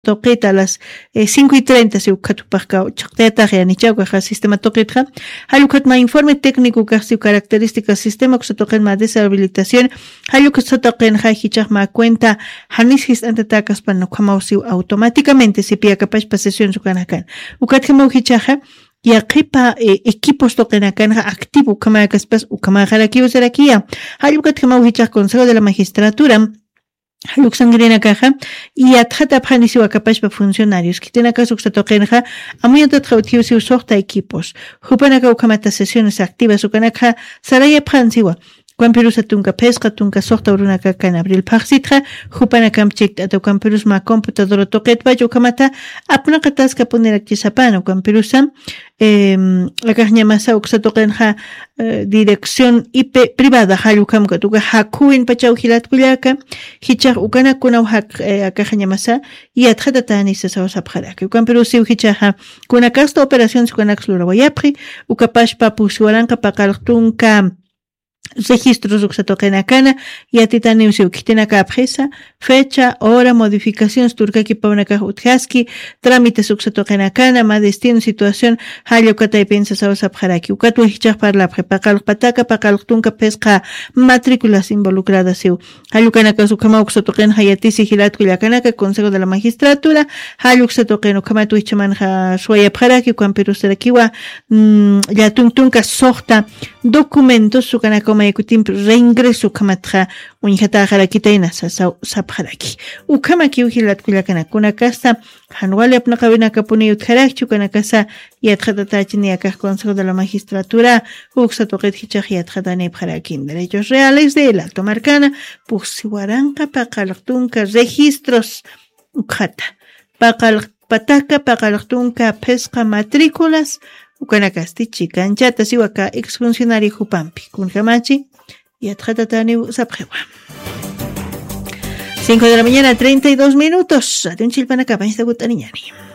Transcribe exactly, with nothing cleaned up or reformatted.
tuqita a las cinco y treinta si ukhat jupaqka chaqtayatax yanichawkaxa sistema tuqitxa. Jallukhat ma informe técnico kaxsiw características sistema uksa tuqin ma deshabilitación. Jalluksa tuqinxa jichax ma cuenta janis jist'antatakaspan ukhamaw siw automáticamente sipi akapachpa sesión sukanakan. Ukatjamaw jichaxa yaqipa equipos tuqinakanxa activo ukhamakaspas ukhamaxarakiw sarakiya. Jallukatjamaw jichax consejo de la magistratura jalluksankirinakaxa yatxatapxanisiw akapachpa funcionarios khitinakas uksa tuqinxa amuñatatxa utjiwsiw suxta equipos. Jupanaka ukhamata sesiones activas ukanakxa sarayapxansiwa. Ukampirusa tunka phisqa tunka suxta urunakakan abril phaxsitxa jupanakamp chikt'ata ukampirus mä computadora tuqitpach ukhamata apnaqataskapunirakchisapana ukampirusa akaxñamasa uksa tuqinxa dirección ip privada jallukhamkat uka jakhuwin pachaw jilatkullaka. Jichax ukanakunaw jak akaxañamasa yatxatatäni sasaw sapxaraki ukampirusiw jichaxa kunakasta operaciones ukanaks lurawayapxi. Ukapashpa pusi waranqa paqalq tunka registros uksa tuqinakana yatitaniw siw khitinakapxisa fecha hora modificaciones turkakipawnakax utjaski trámites uksa tuqinakana ma destino situación jalla ukataypin sasaw sapxaraki ukatwa jichax parlapxi paqalqpataka paqalqtunka phisqa matrículas involucradas siw. Jallukanakas ukhamaw uksa tuqinxa yatisi jilatku llakanaka consejo de la magistratura jalluksa tuqin ukhamat wichhamanxa suwayapxaraki ukampirusarakiwa llatun tunka suxta documentos ukanakaw maykutimpi reingreso ukhamatxa uñjataxarakitayna sasaw sapxaraki. Ukhamakiw jilatku llakanaka kunakasta jan wali apnaqawinakapuni utjarakchi ukanakasa yatxatatächini akax consejo de la magistratura uksa tuqit jichax yatxatanipxarakin derechos reales de el alto markana pusi waranqa paqalq tunka registros ukxata paqalq pataka paqalq tunka phisqa matrículas ukanakasti chikanchata siw aka exfuncionario jupampi kunjamachi yatxatataniw sapxiwa. Cinco de la mañana treinta y dos minutos atunchillpanakapañsta gut'aniñani.